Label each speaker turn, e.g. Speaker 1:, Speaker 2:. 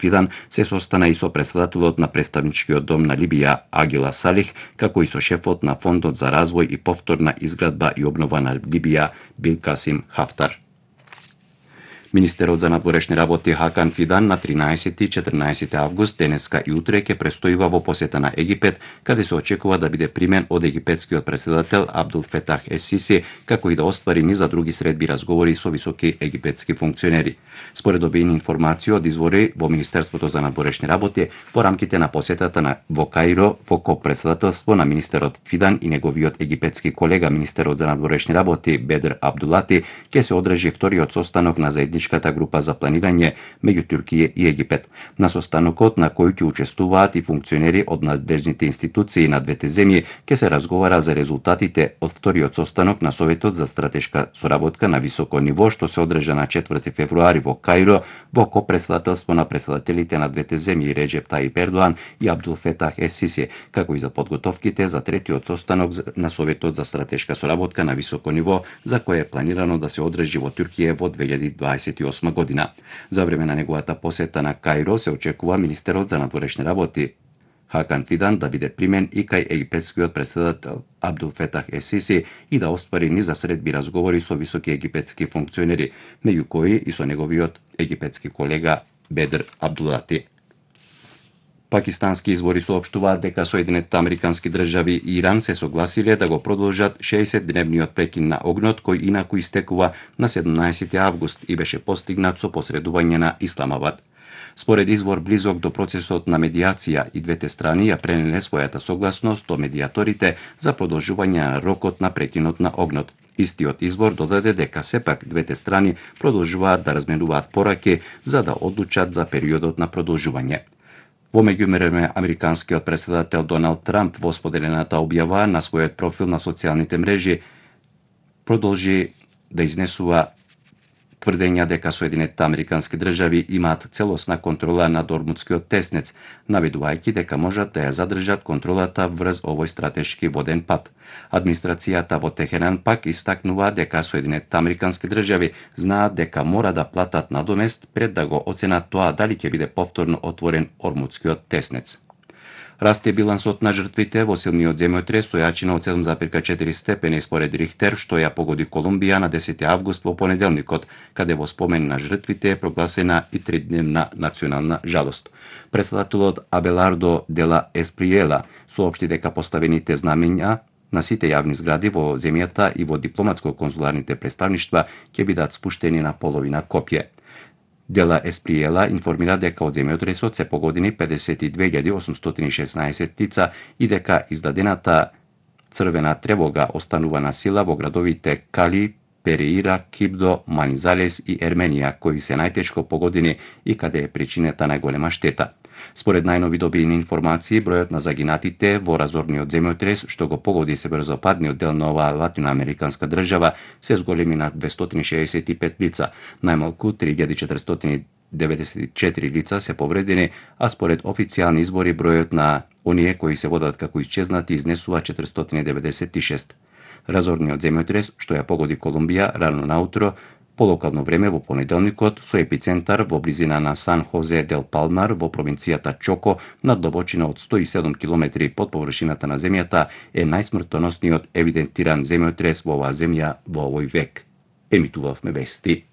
Speaker 1: Фидан се состана и со председателот на представничкиот дом на Либија Агила Салих, како и со шефот на Фондот за развој и повторна изградба и обнова на Либија Билкасим Хафтар. Министерот за надворешни работи Хакан Фидан на 13 и 14 август денеска и утре ќе престојува во посета на Египет, каде се очекува да биде примен од египетскиот председател Абдул Фетах ес-Сиси, како и да оствари низа други средби разговори со високи египетски функционери. Според добиени информации од извори во Министерството за надворешни работи, во рамките на посетата во Каиро, во копредседателство на министерот Фидан и неговиот египетски колега министерот за надворешни работи Бедр Абдулати, ќе се одржи вториот состанок на заедничката група за планирање меѓу Туркија и Египет. На состанокот на кој ќе учествуваат и функционери од надлежните институции на двете земји, ќе се разговара за резултатите од вториот состанок на Советот за стратешка соработка на високо ниво, што се одржа на 4 февруари во Каиро, во копредседателство на председателите на двете земји Реджеп Таип Ердоан и Абдул Фетах ес-Сиси, како и за подготовките за третиот состанок на Советот за стратешка соработка на високо ниво, за кој е планирано да се одржи во Туркија во 2028 година. За време на неговата посета на Каиро се очекува министерот за надворешни работи Хакан Фидан да биде примен и кај египетскиот председател Абдул Фетах ес-Сиси и да оствари низа средби разговори со високи египетски функционери, меѓу кои и со неговиот египетски колега Бедр Абдулати. Пакистански извори соопштуваат дека Соединетите Американски држави и Иран се согласиле да го продолжат 60-дневниот прекин на огнот, кој инаку истекува на 17 август и беше постигнат со посредување на Исламабад. Според извор близок до процесот на медијација, и двете страни ја пренеле својата согласност до медијаторите за продолжување на рокот на прекинот на огнот. Истиот извор додаде дека сепак двете страни продолжуваат да разменуваат пораки за да одлучат за периодот на продолжување. Во меѓувреме, американскиот председател Доналд Трамп во споделената објава на својот профил на социјалните мрежи продолжи да изнесува тврдења дека Соединетите Американски држави имаат целосна контрола над Ормудскиот теснец, наведувајќи дека можат да ја задржат контролата врз овој стратешки воден пат. Администрацијата во Техеран пак истакнува дека Соединетите Американски држави знаат дека мора да платат надомест пред да го оценат тоа дали ќе биде повторно отворен Ормудскиот теснец. Расте билансот на жртвите во силниот земјотрес со јачина од 7,4 степени според Рихтер, што ја погоди Колумбија на 10 август во понеделникот, каде во спомен на жртвите е прогласена и 3-дневна национална жалост. Председателот Абелардо Дела Есприела соопшти дека поставените знамења на сите јавни згради во земјата и во дипломатско-конзуларните представништва ќе бидат спуштени на половина копје. Дела Есприела информира дека од земјотресот се погодени 52.816 лица и дека издадената црвена тревога останува на сила во градовите Кали, Переира, Кибдо, Манизалес и Ерменија, кои се најтешко погодени и каде е причината најголема штета. Според најнови добиени информации, бројот на загинатите во разорниот земјотрес, што го погоди северозападниот дел на оваа латиноамериканска држава, се зголеми на 265 лица, најмалку 3494 лица се повредени, а според официјални избори бројот на оние кои се водат како исчезнати изнесува 496. Разорниот земјотрес, што ја погоди Колумбија рано наутро, по локално време во понеделникот, со епицентар во близина на Сан Хозе дел Палмар во провинцијата Чоко, на длабочина од 107 км под површината на земјата, е најсмртоносниот евидентиран земјотрес во оваа земја во овој век. Емитувавме вести.